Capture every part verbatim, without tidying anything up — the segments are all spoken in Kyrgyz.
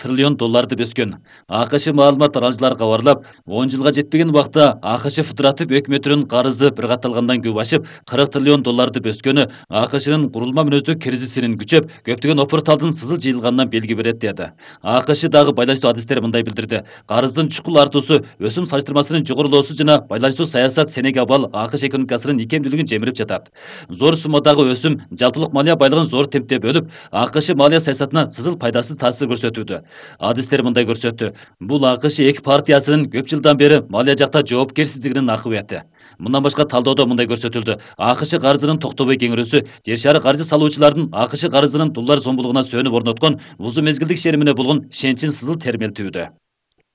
триллион долларды бөскөн. АКШ маалымат таратуучулар кабарлап, он жылга жетпеген убакта АКШ федератив өкмөтүнүн карызы бир катталгандан көп ашып, кырк триллион долларды бөскөнү АКШнын курулма мүнөздүү кризисинин күчөп, көптөгөн опурталдын сызыл жыйылганынан белги берет деди. АКШ дагы байланыштуу адистер мындай билдирди. Карыздын чукул артуусу, өсүм салыштырмасынын жогорулоосу жана байланыштуу саясат Сенегабал АКШ экономикасынын икемдүүлүгүн жемирип жатат. Зор суммадагы өсүм жалпылык малия байлыгын зор темпте бөлүп, АКШ малия саясатына сызыл пайдасыз таасир көрсөтүүдө. Адистер мындай көрсөттү. Бул АКШ эки партиясынын көп жылдан бери малия жакта жоопкерсиздигинин акыбаты. Мындан башка талдаодо мындай көрсөтүлдү. АКШ карызынын токтобой кеңирүүсү жер шары каржы салуучулардын АКШ карызынын доллар сомдуулугуна сөнүп орноткон узун мезгилдик ишенимине болгон ишенчин сызыл термелтүүдө.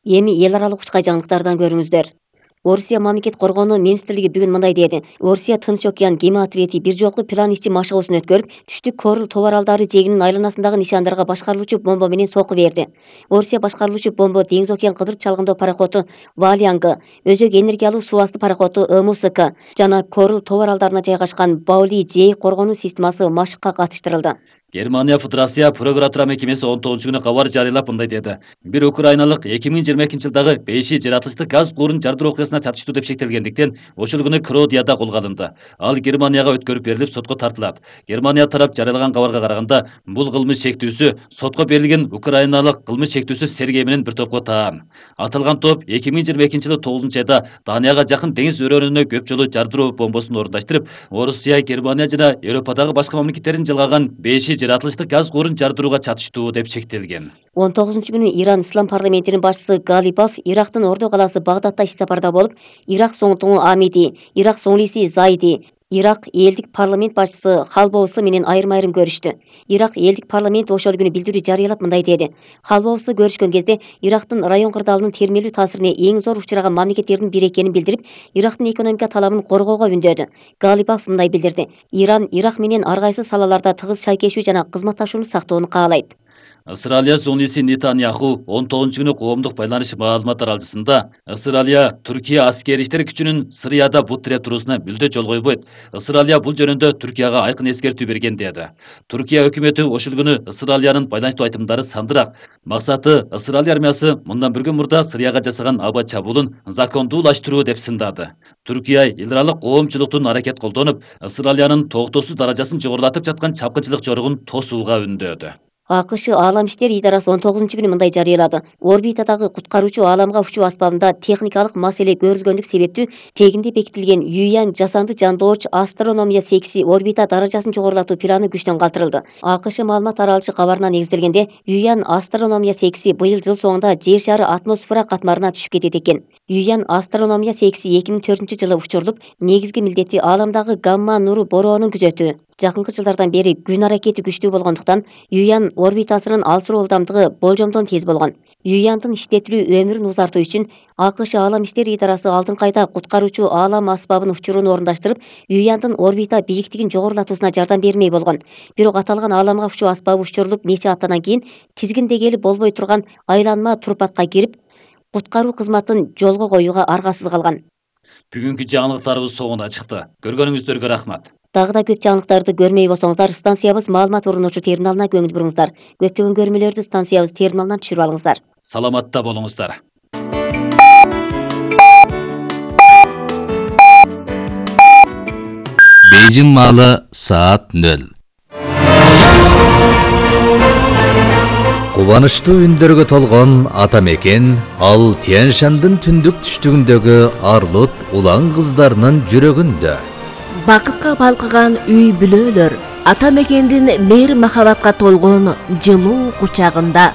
Эми эл аралык учкай жаңылыктардан көрүңүздөр. Орусия мамлекет коргонуу министрлиги бүгүн мындай деди. Орусия Тынч океан кеме отряди бир жолку план ишчи машыгуусун өткөрүп, түштүк Корыл тоо аралдары жегинин айланасындагы нишандарга башкарылуучу бомба менен сокку берди. Орусия башкарылуучу бомба Деңиз океан кыдырып чалгындоо пароходу Валианга, өзөк энергиялуу суу асты пароходу МУСК жана Корыл тоо аралдарына жайгашкан Баули-Жей коргонуу системасы машыкка катыштырылды. Германия Федерация прокуратура мекемеси он тогузунчу күнү кабар жарыялап мындай деди. Бир украиналык эки миң жыйырма экинчи жылдагы беши жаратылыштык газ куурун жардыруу окуясына чатыштуу деп шектелгендиктен ошол күнү Кродияда колго алынды. Ал Германияга өткөрүп берилип, сотко тартылат. Германия тарап жарыялаган кабарга караганда, бул кылмыш шектүүсү сотко берилген украиналык кылмыш шектүүсү Сергей менен бир топко таан. Аталган топ эки миң жыйырма экинчи жылы тогузунчу айда Данияга жакын деңиз өрөөнүнө көп жолу жардыруу бомбосун орундаштырып, Орусия, Германия жана Европадагы башка мамлекеттердин жалгаган беши жаратылыштык газ куурун жардырууга чатыштуу деп шектелген. он тогузунчу күнү Иран ислам парламентинин башчысы Галипов Ирактын Ордо калаасы Багдадта иш сапарда болуп, Ирак соңтуңу Амиди, Ирак соңлиси Зайди, Ирак элдик парламент башчысы Халбоусы менен айрым-айрым көрүштү. Ирак элдик парламенти ошол күнү билдирүү жарыялап мындай деди. Халбоусы көрүшкөн кезде Ирактын район кырдаалынын термелүү таасирине эң зор учураган мамлекеттердин бири экенин билдирип, Ирактын экономика талабын коргоого үндөдү. Галипов мындай билдирди. Иран Ирак менен ар кайсы салаларда тыгыз шайкешүү жана кызматташууну сактоону каалайт. Исраилия зониси Нетаньяху он тогузунчу күнү коомдук байланыш маалымат таралчысында Исраилия Түркия аскери иштер күчүнүн Сырияда бут тире туруусуна мүлдө жол койбойт. Исраилия бул жөнүндө Түркияга айкын эскертүү берген деди. Түркия өкмөтү ошол күнү Исраилиянын байланыштуу айтымдары сандыраак. Максаты Исраилия армиясы мындан бир күн мурда Сырияга жасаган аба чабуулун закондуулаштыруу деп сындады. Түркия эл аралык коомчулуктун аракет колдонуп, Исраилиянын токтоосуз даражасын жогорулатып жаткан чапкынчылык жоругун тосууга үндөөдү. АКШ Аалам иштер идарасы он тогузунчу күнү мындай жарыялады. Орбитадагы куткаруучу ааламга учуу аспабында техникалык маселе көрүлгөндүк себептүү тегинде бекитилген Юян жасанды жандооч астрономия секси орбита даражасын жогорулатуу планы күчтөн калтырылды. АКШ маалымат таралышы кабарына негизделгенде, Юян астрономия секси быйыл жыл соңунда жер шары атмосфера катмарына түшүп кетет экен. Юян астрономия секси эки миң төртүнчү жылы учурулуп, негизги милдети ааламдагы гамма нуру бороонун күзөтүү. Жакынкы жылдардан бери күн аракети күчтүү болгондуктан Юян орбитасынын алсыроо ылдамдыгы болжомдон тез болгон. Юяндын иштетилүү өмүрүн узартуу үчүн АКШ Аалам иштер идарасы алдыңкы айда куткаруучу аалам аспабын учурун орундаштырып, Юяндын орбита бийиктигин жогорулатуусуна жардам бермей болгон. Бирок аталган ааламга учуу аспабы учурулуп нече аптадан кийин тизгиндегели болбой турган айланма турпатка кирип, куткаруу кызматын жолго коюуга аргасыз калган. Бүгүнкү жаңылыктарыбыз соңуна чыкты. Көргөнүңүздөргө рахмат. Дагы да көп жаңылыктарды көрмөй болсоңуздар, станциябыз маалымат орунуучу терминалына көңүл буруңуздар. Көптөгөн көрмөлөрдү станциябыз терминалынан түшүрүп алыңыздар. Саламатта болуңуздар. Бейжин маалы саат нөл. Кубанычтуу үндөргө толгон ата мекен ал Тянь-Шандын түндүк түштүгүндөгү арлут улан кыздарынын жүрөгүндө. Бакытка балкыган үй бүлөлөр ата мекендин мейир махабатка толгон жылуу кучагында.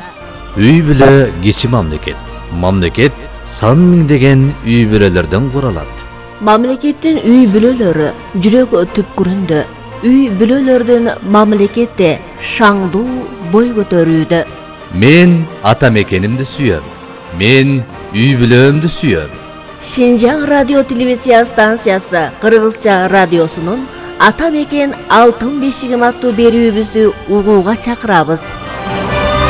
Үй бүлө кичи мамлекет. Мамлекет сан миңдеген үй бүлөлөрдөн куралат. Мамлекеттин үй бүлөлөрү жүрөк түпкүрүндө. Үй бүлөлөрдүн мамлекетте шаңдуу бой көтөрүүдө. Мен ата мекенимди сүйөм. Мен үй бүлөмдү сүйөм. Шинжаң радио телевизия станциясы Кыргызча радиосунун Ата мекен алтын бешигим аттуу берүүбүздү угууга чакырабыз.